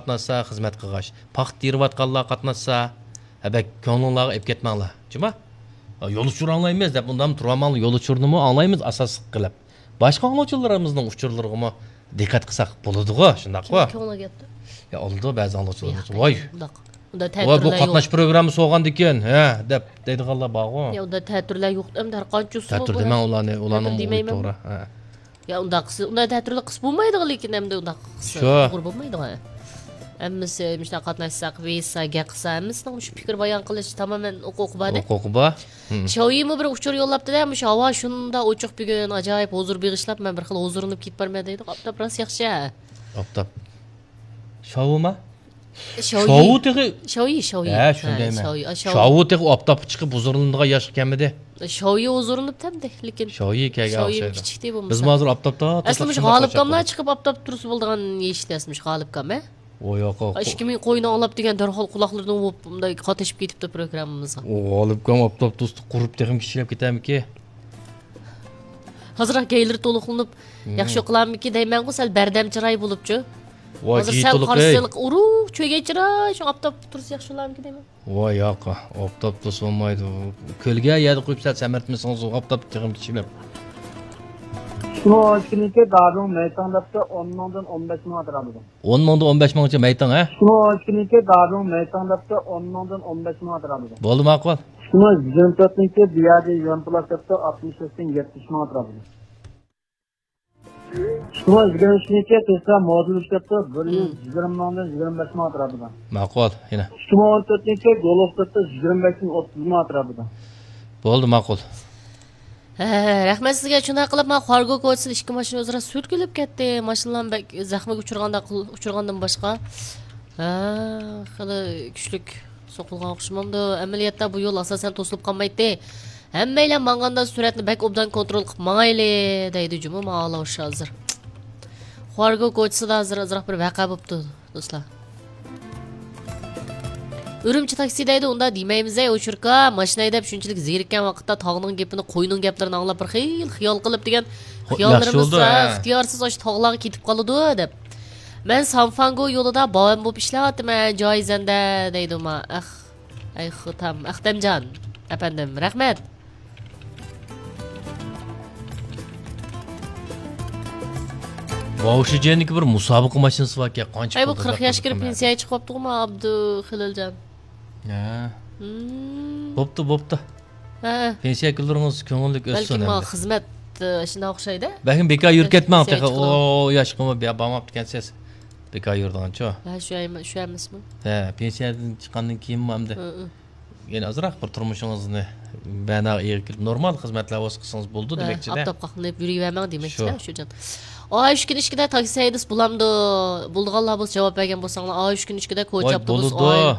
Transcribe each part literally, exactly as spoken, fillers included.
قاتناشسا، خىزمەت قىلغاچ. پاختا تېرىۋاتقانلار قاتناشسا، ھە، بەك كۆڭلۈڭلارغا ئېلىپ كەتمەڭلار. جۇما؟ يول ئۇچۇر ئاڭلايمىز دەپ، ئۇندام تۇرۇۋالماڭلار، يول ئۇچۇرىنىمۇ ئاڭلايمىز ئاساسلىق قىلىپ. باشقا ئاڭلىغۇچىلىرىمىزنىڭ ئۇچۇرلىرىغىمۇ دىققەت قىلساق بولىدىغۇ، شۇنداققۇ؟ كىمنىڭ كۆڭلىگە يەپتۇ؟ يا، ئالىدۇ بەزى ئاڭلىغۇچىلىرىمىز. ياق، ۋاي، ئۇنداق. ئۇنداق ۋاي، بۇ تەتۈرلەر يوق. قاتناش پروگراممىسى بولغاندىكىن، ھە، دەپ دەيدىغانلار بارغۇ. يا، ئۇنداق تەتۈرلەر يوق، ئەمدى ھەر قانچە ئۇسۇل تەتۈر بار. دېمەڭ ئۇلارنى، ئۇلارنىڭ تەتۈر دېمەيمەن. توغرا، ھە. يا، ئۇنداق قىلسا، ئۇنداق تەتۈرلەر قىلسا بولمايدىغان، لېكىن ئەمدى ئۇنداق قىلسا شۇ. توغرا بولمايدىغان. ھەممىسى مۇشۇنداق قاتناشساق، ۋېيىشسا، گەپ قىلسا، ھەممىسىنىڭ مۇشۇ پىكىر بايان قىلىش تامامەن ھوقۇقى بار-دە. ھوقۇقى بار. ھىم. شاۋيىمۇ بىر ئۇچۇر يوللاپتۇ-دە، مۇشۇ ھاۋا شۇنداق ئوچۇق بۈگۈن، ئاجايىپ ھۇزۇر بېغىشلاپ، مەن بىر خىل ھۇزۇرلىنىپ كېتىپ بارىمەن دەيدۇ. ئاپتاپ راست ياخشى. ئاپتاپ. شاۋۇما؟ شاۋيى. شاۋۇ تېخى شاۋيى، شاۋيى. ھە، شۇنى ھە، دەيمەن. شاۋيى، ئا، شاۋۇ. شاۋۇ تېخى ئاپتاپقا چىقىپ ھۇزۇرلىنىدىغان ياشقا كەلمىدى. شاۋيى ھۇزۇرلىنىپتۇ ئەمدى، لېكىن. شاۋيى كەلگەن شاۋيى ئوخشايدۇ. كىچىكتى بولمىسا. بىزمۇ ھازىر ئاپتاپتا ئەسلى مۇشۇ غالىبكاملار چىقىپ ئاپتاپتا تۇرسا بولىدىغان يېشىتى ئەسلى مۇشۇ غالىبكام، ھە؟ ئو ياق، ئۇ ئىككى مىڭ قوينى ئاڭلاپ دېگەن دەرھال قۇلاقلىرىنى ئوپ، مۇنداق قاتنىشىپ كېتىپتۇ پروگراممىمىزغا. ئۇ غالىبكام ئاپتاپتا تۇرسا قۇرۇپ تېخىمۇ كىچىكلەپ كېتەرمىكى؟ ھازىراق گەيلىرى تولۇقلىنىپ، مم. ياخشى ئوقۇلامىكى دەيمەنغۇ، سەل بەردەم چىراي بولۇپچۇ. ۋاي، ھازىر جىي سەل تولۇق، قارىسىلىق، ئۇرۇق، چۆگەي چىراي، شۇ ئاپتاپتا تۇرسا ياخشى بولامىكى دەيمەن. ۋاي ياق، ئاپتاپتا تۇرسا بولمايدۇ. كۆلگە يەردە قويۇپ سەل سەمرىتمىسىڭىز، ئۇ ئاپتاپتا تېخىمۇ كىچىكلەپ. ئىككى مىڭ ئون ئىككىنچى يىلى دادۇڭ مەيتاڭ دەپتۇ، ئون مىڭدىن ئون بەش مىڭ ئەتراپىدا. ئون مىڭدىن ئون بەش مىڭچە مەيتاڭ، ھە؟ ئىككى مىڭ ئون ئىككىنچى يىلى دادۇڭ مەيتاڭ دەپتۇ، ئون مىڭدىن ئون بەش مىڭ ئەتراپىدا. بولدى، ماقۇل. ئىككى مىڭ يىگىرمە تۆتىنچى يىلى بۇ يەردە يۈەن پلاس دەپتۇ، ئاتمىش بەشتىن يەتمىش مىڭ ئەتراپىدا. ئىككى مىڭ يىگىرمە ئۈچىنچى يىلى تېسلا مودېل ئۈچ دەپتۇ، بىر يۈز يىگىرمە مىڭدىن يىگىرمە بەش مىڭ ئەتراپىدا. ماقۇل، يەنە. ئىككى مىڭ ئون تۆتىنچى يىلى گولف دەپتۇ، يىگىرمە بەشتىن ئوتتۇز مىڭ ئەتراپىدا. بولدى، ماقۇل. ھە، رەھمەت سىزگە. شۇنداق قىلىپ، مانا خارگو كوچىسىدا ئىككى ماشىنا ئۆزئارا سۈرتكىلىپ كەتتى. ماشىنىلارمۇ بەك زەخمىگە ئۇچرىغاندا، ئۇچرىغاندىن باشقا. ھە، خېلى كۈچلۈك سوقۇلغان ئوخشىمامدۇ؟ ئەمەلىيەتتە بۇ يول ئاساسەن توسۇلۇپ قالمايتتى. ھەممەيلەن ماڭغاندا سۈرئەتنى بەك ئوبدان كونترول قىلىپ ماڭايلى دەيدۇ جۇمۇ ماڭغانلار ھازىر. خارگو كوچىسىدا ھازىر ئازراق بىر ۋەقە بوپتۇ. دوستلار. ئۈرۈمچى تاكسى دەيدۇ، ئۇنداق دېمەيمىز ئەي، ئوچۇركا. ماشىنا ھەيدەپ شۇنچىلىك زېرىككەن ۋاقىتتا تاغنىڭ گېپىنى، قوينىڭ گەپلىرىنى ئاڭلاپ بىر خىل خىيال قىلىپ دېگەن خو-، خىياللىرىمىزدا ياخشى بولدى، ھە. ئىختىيارسىز ئاشۇ تاغلارغا كېتىپ قالىدۇ دەپ. مەن سانفانگو يولىدا باۋەن بولۇپ ئىشلەۋاتىمەن، جايىزەندە دەيدۇ ما. ئەخ، ئەي خۇتام، ئەختەمجان ئەپەندىم، رەھمەت. ۋاۋشىجيەندىكى بىر مۇسابىقە ماشىنىسى باركەن، قانچە ئەي، بۇ پۇل قىرىق ياشقا كىرىپ پېنسىيەگە چىقىۋاپتىغۇ ما ئابدۇخېلىلجان. ھە. بوپتۇ، بوپتۇ. ھە. پېنسىيە كۈنلىرىڭىز كۆڭۈللۈك ئۆتسۇن. بەلكىم ما خىزمەت، ئە، شۇنداق ئوخشايدۇ. بەلكىم بىكار يۈرۈپ كەتمەڭ تېخى. ئۇ ياشقىمۇ بارماپتىكەنسىز. بىكار يۈرىدىغانچۇ؟ ھە، شۇ ئەم-، شۇ ئەمەسمۇ؟ ھە، پېنسىيەدىن چىققاندىن كېيىنمۇ ئەمدى. ھە، ھە. يەنە ئازراق بىر تۇرمۇشىڭىزنى مەناغا ئېغىر كىرىپ، نورمال خىزمەتلەر بولسا قىلسىڭىز بولىدۇ دېمەكچىدە. ئاپتاپ قاقلىنىپ يۈرۈۋەرمەڭ دېمەكچىدە، شۇ. شۇ جان. ئاي، ئۈچ كۈن ئىچىدە تاكسى ھەيدىسە بولامدۇ؟ بولىدىغانلار بولسا جاۋاب بەرگەن بولساڭلار. ئاي، ئۈچ كۈن ئىچىدە كوچا ئاپتوبۇس، بولىدۇ. ئاي.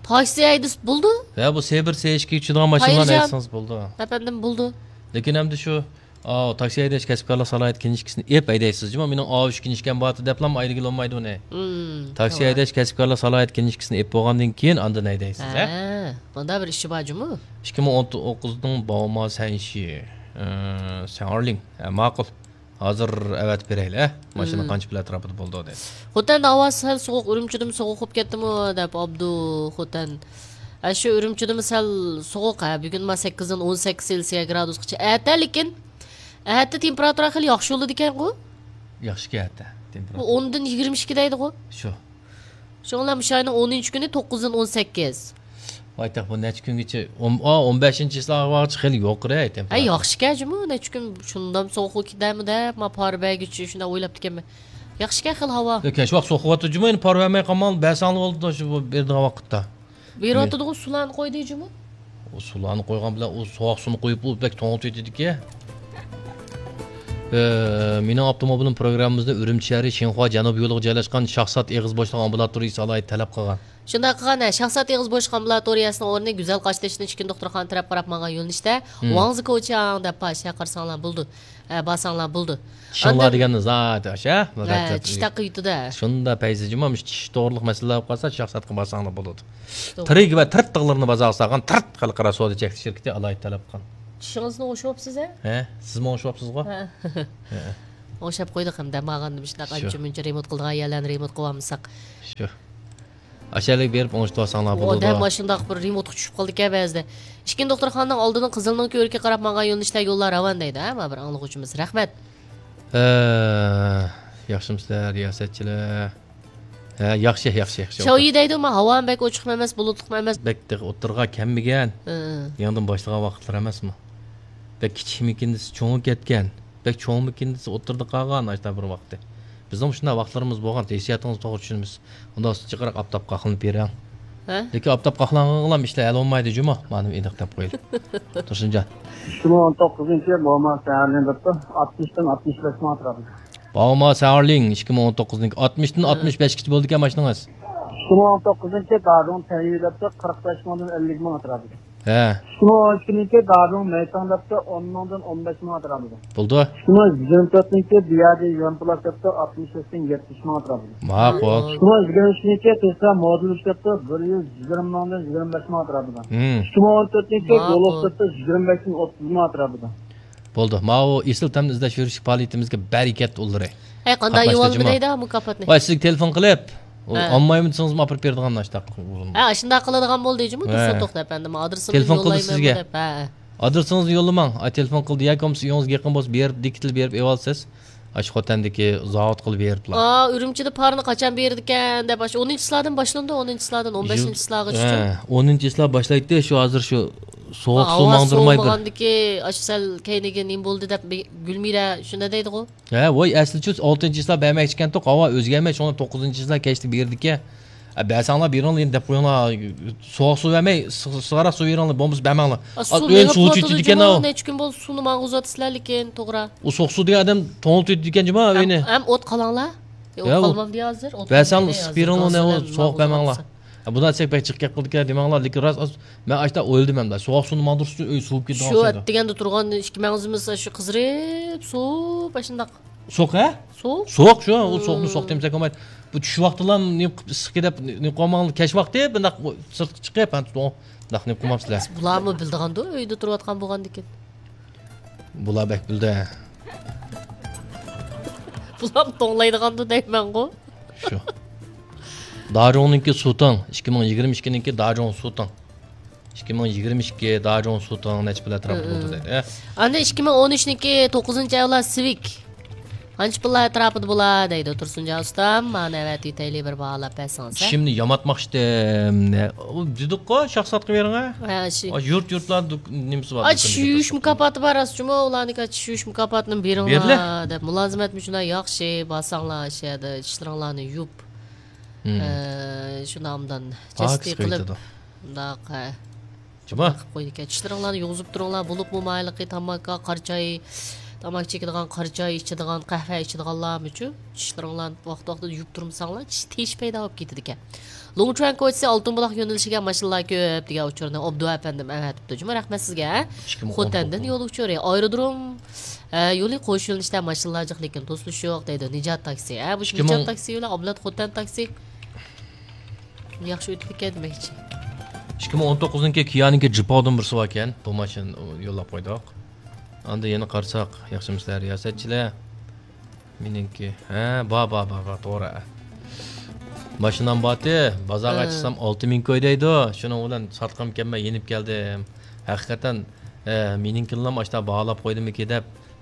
تاكسى ھەيدىسە بولىدۇ؟ ھە، بۇ سې بىر، سې ئىككى ئۈچىدىغان ماشىنىلارنى ھەيدىسىڭىز بولىدۇ. ئەپەندىم، بولىدۇ. لېكىن ئەمدى شۇ ئاۋۇ، تاكسى ھەيدەش كەسىپكارلىق سالاھىيەت كىنىشكىسىنى ئېپ ھەيدەيسىز جۇمۇ. مېنىڭ ئاۋۇ ئۈچ كىنىشكام بارتى دەپلا ئايرىگىلى بولمايدۇ ئۇنى. مم، تاكسى توغرا. ھەيدەش كەسىپكارلىق سالاھىيەت كىنىشكىسىنى ئېپ بولغاندىن كېيىن ئاندىن ھەيدەيسىز، ھە؟ ھە، مۇندا بىر ئىشى بار جۇمۇ. ئىككى مىڭ ئون توققۇزنىڭ باۋما سەنشى، ئە، سەنئارلىڭ. ھە، ماقۇل. ھازىر ئەۋەتىپ بېرەيلى، ھە؟ ماشىنا مم. قانچە پۇل ئەتراپىدا بولىدۇ دەيسىز. خوتەندە ھاۋا سەل سوغۇق، ئۈرۈمچىدىمۇ سوغۇق بولۇپ كەتتىمۇ دەپ ئابدۇ خوتەن. ئە، شۇ ئۈرۈمچىدىمۇ سەل سوغۇق، ھە، بۈگۈن ما سەككىزدىن ئون سەككىز سېلسىيە گرادۇسقىچە. ئەتە لېكىن ئەتە تېمپېراتۇرا خېلى ياخشى بولىدىكەنغۇ؟ ياخشىكەن ئەتە تېمپېراتۇرا. بۇ ئوندىن يىگىرمە ئىككى دەيدىغۇ؟ شۇ. شۇڭا مۇشۇ ئاينىڭ ئونىنچى كۈنى توققۇزدىن ئون سەككىز. ۋاي تېخى بۇ نەچچە كۈنگىچە، ئون، ئا، ئون بەشىنچى چىسلاغىچە خېلى يۇقىرى تېمپېراتۇرا. ھە، ياخشىكەن جۇمۇ، نەچچە كۈن شۇندام سوغۇق كېتەرمۇ دەپ، ما پارا بەرگۈچى شۇنداق ئويلاپتىكەنمەن. ياخشىكەن خېلى ھاۋا. لېكىن شۇ ۋاقىت سوغۇق بولۇۋاتىدۇ جۇمۇ، ئەمدى پارا بەرمەي قالماڭ، بەرسەڭلار بولىدۇ شۇ بېرىدىغان ۋاقىتتا. بېرىۋاتىدىغۇ، سۇلارنى قويدى جۇمۇ. ئۇ سۇلارنى قويغان بىلەن ئۇ سوغۇق سۇنى قويۇپ، ئۇ بەك توڭلىتىۋېتىدىكەن. ئە، مېنىڭ ئاپتوموبىلىم پروگراممىمىزدا ئۈرۈمچى شەھىرى شىنخۇا جەنۇبىي يولىغا جايلاشقان شاھزات ئېغىز بوشلۇق ئامبۇلاتورىيىسى ئالاھىدە تەلەپ قىلغان. شۇنداق قىلغان، ھە، شاھزات ئېغىز بوشلۇق ئامبۇلاتورىيەسىنىڭ ئورنى گۈزەل قاشتېشىنىڭ ئىچكىرى دوختۇرخانا تەرەپ قاراپ ماڭغان يۆنىلىشتە، ھىم. ۋاڭزى كوچياڭ دەپ پاش، ھە، قارىساڭلار بولىدۇ. ھە، بارساڭلار بولىدۇ. چىشىڭلار ئاندىن دېگەننى زادى ئاشا، ھە، چىش تاققا يېتىدۇ. شۇندا پەيزى جۇما، مۇشۇ چىش توغرىلىق مەسىلىلەر بولۇپ قالسا، شاھزاتقا بارساڭلار بولىدۇ. توغرا. تىرىك ۋە تىرت تاغلىرىنى بازارغا سالغان تىرت خەلقئارا سودا چەكلىك شىركىتى ئالاھىدە تەلەپ قىلغان. چىشىڭىزنى ئوشۇۋاپسىز، ھە؟ ھە، سىزمۇ ئوشۇۋاپسىزغۇ؟ ھە. ھە. ئوڭشاپ قويدۇق ھەم دەم ئالغاندا مۇشۇنداق شۇ. ئانچە مۇنچە رېمونت قىلىدىغان يەرلەرنى رېمونت قىلىۋالمىساق. شۇ. ئاشۇ يەرلەرگە بېرىپ ئوڭشىتىۋالساڭلار بولىدۇ. ئادەم ماشۇنداق بىر رېمونتقا چۈشۈپ قالىدىكەن بەزىدە. ئىككىنچى دوختۇرخانىنىڭ ئالدىدىن قىزىلنىڭكى ئۆرۈكىگە قاراپ ماڭغان يۆنىلىشتە يوللار راۋان دەيدۇ، ھە، ما بىر ئاڭلىغۇچىمىز. رەھمەت. ئە، ياخشىمۇسىلەر، رىياسەتچىلەر؟ ھە، ياخشى، ياخشى، ياخشى. شاۋيى دەيدۇ، ما ھاۋامۇ بەك ئوچۇقمۇ ئەمەس، بۇلۇتلۇقمۇ ئەمەس. بەك تېخى ئوتتۇرىغا كەلمىگەن. ھە. يېڭىدىن باشلىغان ۋاقىتلار ئەمەسمۇ؟ بەك كىچىك مېكىنىسى چوڭىيىپ كەتكەن. بەك چوڭ مېكىنىسى ئوتتۇرىدا قالغان ئاشتا بىر ۋاقتى. بىزنىڭ شۇنداق ۋاقىتلىرىمىز بولغان، ھېسسىياتىڭىزنى توغرا چۈشىنىمىز. ئۇنداق جىقراق ئاپتاپقا ئاقلىنىپ بېرىڭ. ھە؟ لېكىن ئاپتاپقا ئاقلانغانغىلا ئىشلار ھەل بولمايدۇ جۇمۇ. مانا ئېنىق دەپ قويىلى. تۇرسۇنجان. ئىككى مىڭ ئون توققۇزىنچى يىل بوما سەھەرلىنىپ ئاتمىشتىن ئاتمىش بەش مىڭ ئەتراپىدا. باۋما ساۋارلىڭ، ئىككى مىڭ ئون توققۇزنىڭ ئاتمىشتىن ئاتمىش بەشكىچە بولىدىكەن ماشىنىڭىز. ئىككى مىڭ ئون توققۇزىنچى دادۇڭ تەييۈ دەپتۇ، قىرىق بەش مىڭدىن ئەللىك مىڭ ئەتراپىدا. ھە. ئىككى مىڭ ئون ئىككىنىڭكى دادۇڭ مەيتاڭ دەپتۇ، ئون مىڭدىن ئون بەش مىڭ ئەتراپىدا. بولدى. ئىككى مىڭ يىگىرمە تۆتىنىڭكى دىيادى يۈەنپلاس دەپتۇ، ئاتمىش بەشتىن يەتمىش مىڭ ئەتراپىدا. ماقۇل. ئىككى مىڭ يىگىرمە ئۈچىنىڭكى تېسلا مودېل ئۈچ دەپتۇ، بىر يۈز يىگىرمە مىڭدىن يىگىرمە بەش مىڭ ئەتراپىدا. ھىم. ئىككى مىڭ ئون تۆتىنىڭكى ماقۇل. گولوف دەپتۇ، يىگىرمە بەشتىن ئوتتۇز مىڭ ئەتراپىدا. بولدى. ماۋۇ ئېسىل تەمنى ئىزدەش يۈرۈشلۈك پائالىيىتىمىزگە بەرىكەت ئۇلىرى. ھەي، قانداق قاتناشتى يۇۋالدى جۇمۇ. دەيدۇ مۇكاپاتنى؟ ۋاي، سىزگە تېلېفون قىلىپ، ئۇ ھە. ئالمايمەن دېسىڭىزمۇ ئاپىرىپ بېرىدىغان ئاشتاق. ھە، شۇنداق قىلىدىغان بولدى جۇمۇ، ھە. تۇرسۇن توختى ئەپەندىم. ئادرېسىمنى تېلېفون قىلدى يوللايمەن سىزگە. دەپ. ھە. ئادرېسىڭىزنى يوللىماڭ. ئا، تېلېفون قىلدى ياكى بولمىسا ئۆيىڭىزگە يېقىن بولسا بېرىپ، دىكتىل بېرىپ ئېۋالسىز. ئاشۇ خوتەندىكى زاۋۇت قىلىپ بېرىپلا. ئا، ئۈرۈمچىدە پارنى قاچان بېرىدىكەن دەپ، ئاشۇ ئونىنچى چىسلادىن باشلىنىدۇ، ئونىنچى چىسلادىن ئون بەشىنچى چىسلاغىچە. ھە، ئونىنچى چىسلا باشلايتتى، شۇ ھازىر شۇ سوغۇق سۇ ھاۋا ماڭدۇرماي بىر. سوۋۇمىغاندىكى ئاشۇ سەل كەينىگە نېمە بولدى دەپ بى-، گۈلمىرە شۇنداق دەيدىغۇ. ھە، ۋاي، ئەسلىچۇ ئالتىنچى چىسلا بەرمەكچىكەنتۇق، ھاۋا ئۆزگەرمەي، شۇڭا توققۇزىنچى چىسلا كەچتە بېرىدىكەن. ئە، بەرسەڭلار بېرىڭلار، يەنە دەپ قويۇڭلار. سوغۇق سۇ بەرمەي، سىغ-، سىغىراق سۇ بېرىڭلار، بولمىسا بەرمەڭلار. ئا، ئا، سۇ ئۆينى مېڭىپ سۇ تۇرۇۋاتىدۇ ئىچىدىكەن جۇمۇ، ئاۋۇ. نەچچە كۈن بولدى سۇنى ماڭغۇزۇۋاتىسىلەر لېكىن، توغرا. ئۇ سوغۇق سۇ دېگەن ئادەم توڭلىتىدىكەن جۇمۇ ئۆينى. ھەم، ھەم ئوت قالاملا. ئە، ئوت ياۋ، قالمامدى ھازىر؟ ئوت بەرسەڭ قالمىدى سىز ھازىر. بېرىڭلار، نە ئۇ سوغۇق بەرمەڭلار. ئە، بۇنداق دېسەك بەك جىق گەپ قىلدىكەن دېمەڭلار، لېكىن راست، ئاز، مەن ئاشتا ئويلىدىم ئەمدى. سوغۇق سۇنى ماڭدۇرۇش ئۈچۈن ئۆي سوۋۇپ كېتىدىغان شۇ ئوخشايدۇ. ئەتىگەندە تۇرغان ئىككى مەڭزىمىز شۇ قىزىرىپ، سوۋۇپ، ئاشۇنداق. سوغۇق، ھە؟ سوغۇق؟ سوغۇق شۇ، ئۇ سوغۇقنى سوغۇق دېمىسەك بولمايدۇ. بۇ چۈش ۋاقتىلا نېمە قىلىپ ئىسسىقكى دەپ نېمە قىلماڭلار، كەچ ۋاقتى بۇنداق سىرتقا چىقىپ، ھە، بۇنداق نېمە قىلمامسىلەر. بۇلارمۇ بىلىدىغاندۇ، ئۆيدە تۇرۇۋاتقان بولغاندىكىن. بۇلار بەك بىلدى. بۇلارمۇ توڭلايدىغاندۇ دەيمەنغۇ. شۇ. داجۇڭنىڭكى سۇتىڭ، ئىككى مىڭ يىگىرمە ئىككىنىڭكى داجۇڭ سۇتىڭ. ئىككى مىڭ يىگىرمە ئىككى داجۇڭ سۇتىڭ نەچچە پۇل ئەتراپىدا بولىدۇ دەيدۇ. ئە؟ ئاندىن ئىككى مىڭ ئون ئۈچنىڭكى توققۇزىنچى ئەۋلاد سىۋىك. قانچە پۇللار ئەتراپىدا بولا دەيدۇ تۇرسۇنجان ئۇستام. مانا ئەۋەتىۋېتەيلى، بىر باھالاپ بەرسىڭىز، ھە؟ چىشىمنى ياماتماقچىدىم. نە-، ئۇ دېدۇققۇ، شاخساتقا بېرىڭە. ھە، شۇ. ئا، يۇرت، يۇرتلار دۇك-، نېمىسى بار، ئاچ دۇكىنى يۇيۇش كۆتۈرۈپ. مۇكاپاتى بار، راست جۇمۇ، ئۇلارنىڭكى ئاچ يۇيۇش مۇكاپاتىنى بېرىڭلار، بېرىلە. دەپ مۇلازىمەت مۇشۇنداق ياخشى، بارساڭلار شۇ يەردە چىشلىرىڭلارنى يۇپ. ھىم. ئە، شۇنداق ئوبدان پاكىز جەستە قىلىپ، قىلىۋېتىدۇ. مۇنداق، ھە. جۇما. قىلىپ قويىدىكەن. چىشلىرىڭلارنى يۇغۇزۇپ تۇرۇڭلار، بولۇپمۇ مايلىقى تاماكا، قارىچاي، تاماكا چېكىدىغان، قارىچاي ئىچىدىغان، قەھۋە ئىچىدىغانلارمۇچۇ؟ چىشلىرىڭلارنى ۋاقتى-ۋاقتىدا يۇيۇپ تۇرمىساڭلار، چىش تېشى پەيدا بولۇپ كېتىدىكەن. لۇڭچۈەن كوچىسى ئالتۇن بۇلاق يۆنىلىشىگە ماشىنىلار كۆپ دېگەن ئۇچۇرنى ئوبدۇ ئەپەندىم ئەۋەتىپتۇ جۇما، رەھمەت سىزگە. ئىككى مىڭ ئون توققۇز. خوتەندىن يول ئۇچۇرى. ئايرودروم، ئە، يولى قوش يۆنىلىشتە ماشىنىلار جىق، لېكىن توسۇلۇش يوق دەيدۇ. نىجات تاكسى. ھە، بۇ ئىككى مىڭ نىجات تاكسى بىلەن ئابلەت خوتەن تاكسى. ياخشى ئۆتۈپ كەتكەن دېمەكچى. ئىككى مىڭ ئون توققۇزنىڭكى كىيانىڭكى جىپاۋدىن بىرسى باركەن. بۇ ماشىنا يوللاپ قويدۇق. ئاندىن يەنە قارىساق، ياخشىمۇسىلەر رىياسەتچىلەر؟ مېنىڭكى. ھە، بار، بار، بار، بار، توغرا. ماشىنام بارتى، بازارغا ھە. چىقسام ئالتە مىڭ كوي دەيدۇ. شۇنىڭ بىلەن ساتقۇم كەلمەي يېنىپ كەلدىم. ھەقىقەتەن، ئە، مېنىڭكىنىلا ئاشتا باھالاپ قويدىمىكى دەپ،